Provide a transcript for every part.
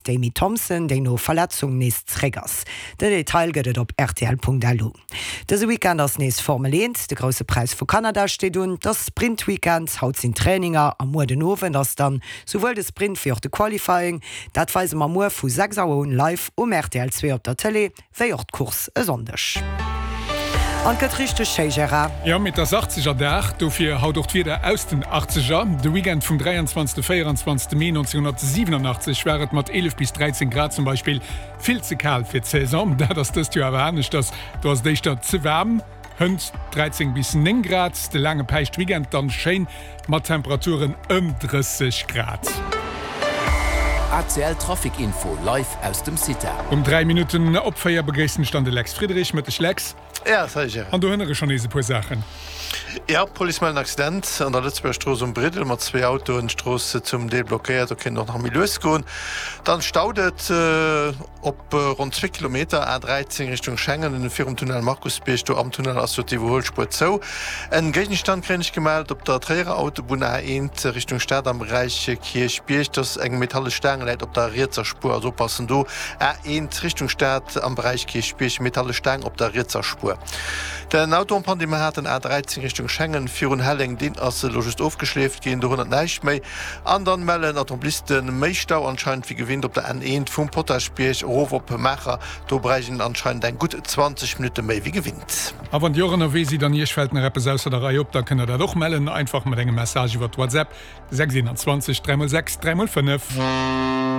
D'Amy Thompson, déi no Verletzung nees zréck ass. Den Detail gëtt et op rtl.lu. Dëse Weekend ass nees Formel 1, de Grousse Präis vu Kanada steet un. Et ass Sprint-Weekend, haut sinn d'Traininger a muer den Owend ass dann souwuel de Sprint wéi och de Qualifying. Dat weise mer muer vu 6 Auer un live um rtl 2 op der Tëlee. Wéi och d'Course e Sonndeg. An et gëtt richteg schéi, Gérard. Jo, mee et ass Achtzegerdag, dofir haut och d'Wieder aus den Achtzeger. De Weekend vum 23. 24. Mee 1987 war et mat 11 bis 13 Grad zum Beispill vill ze kal fir d'Saison. Dat ass dëst Joer awer aneschters, do ass et éischter ze waarm. Hënt 13 bis 9 Grad, de laange Päischtweekend dann schéin mat Temperaturen ëm 30 Grad. ACL Trafic Info live aus dem CITA. Um 3 Minutten op 4 begréissen ech dann de Lex Friedrich. Mëtteg Lex. Ja, salut Gérard. An do hënnere schon nees e puer Saachen. Ja, d'Police mellt en Accident an der Lëtzebuerger Strooss um Briddel mat zwee Autoen. D'Strooss zum Deel blockéiert, do kéint och nach méi lues goen. Dann staut et. Op ronn zwee Kilometer, A 13 Richtung Schengen, virum Tunnel Markusbierg, do am Tunnel ass jo d'Iwwerhuelspuer zou. En Géigenstand kréien ech gemellt op der Tréierer Autobunn A 1 Richtung Stad am Beräich Kierchbierg, dass eng metallesch Staang läit op der rietser Spuer, also oppassen do. A 1 Richtung Stad am Beräich Kierchbierg, metallesch Staang op der rietser Spuer. Den Auto en panne dee mer haten, A 13 Richtung Schengen virun Helleng, deen ass elo just ofgeschleeft ginn, do hënnert näischt méi. An dann mellen Automobilisten méi Stau anscheinend wéi gewinnt op der N1 vum Potaschbierg erof op Maacher. Do bräicht een anscheinend eng gutt 20 Minutte méi wéi gewinnt. A wann Dir och ënnerwee sidd an Iech fält nach eppes ausser der Rei op, da kënnt der dat och mellen, einfach mat engem Message iwwert WhatsApp 6 21 3 x 6 3 x 5.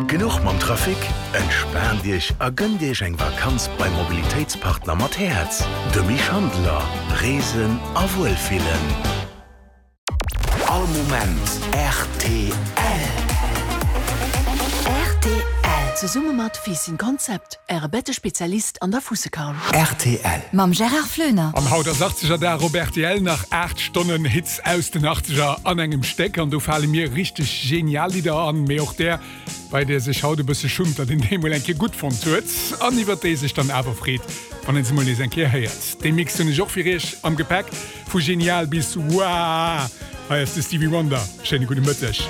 Genuch mam Trafic? Entspaant Iech a gënnt Iech eng Vakanz beim Mobilitéitspartner mat Häerz, dem Misch Handeler. Reesen a Wuelfillen. All Moment rtl. Rtl. Zesumme mat Fiisschen Konzept, Äre Bettespezialist an der Fussekaul. Rtl. Mam Gérard Floener. An haut ass Achtzegerdag op rtl. Nach 8 Stonnen Hits aus den Achtzeger an engem Stéck. An do fale mir richteg genial Lidder an, mee och där, bei där sech haut e bësse schummt, datt een déi mol eng Kéier gutt fonnt huet an iwwert déi sech dann awer freet, wann een se mol nees eng Kéier héiert. Dee Mix hunn ech och fir iech am Gepäck. Vu genial bis woah! Hei ass de Stevie Wonder. Schéine gudde Mëtteg.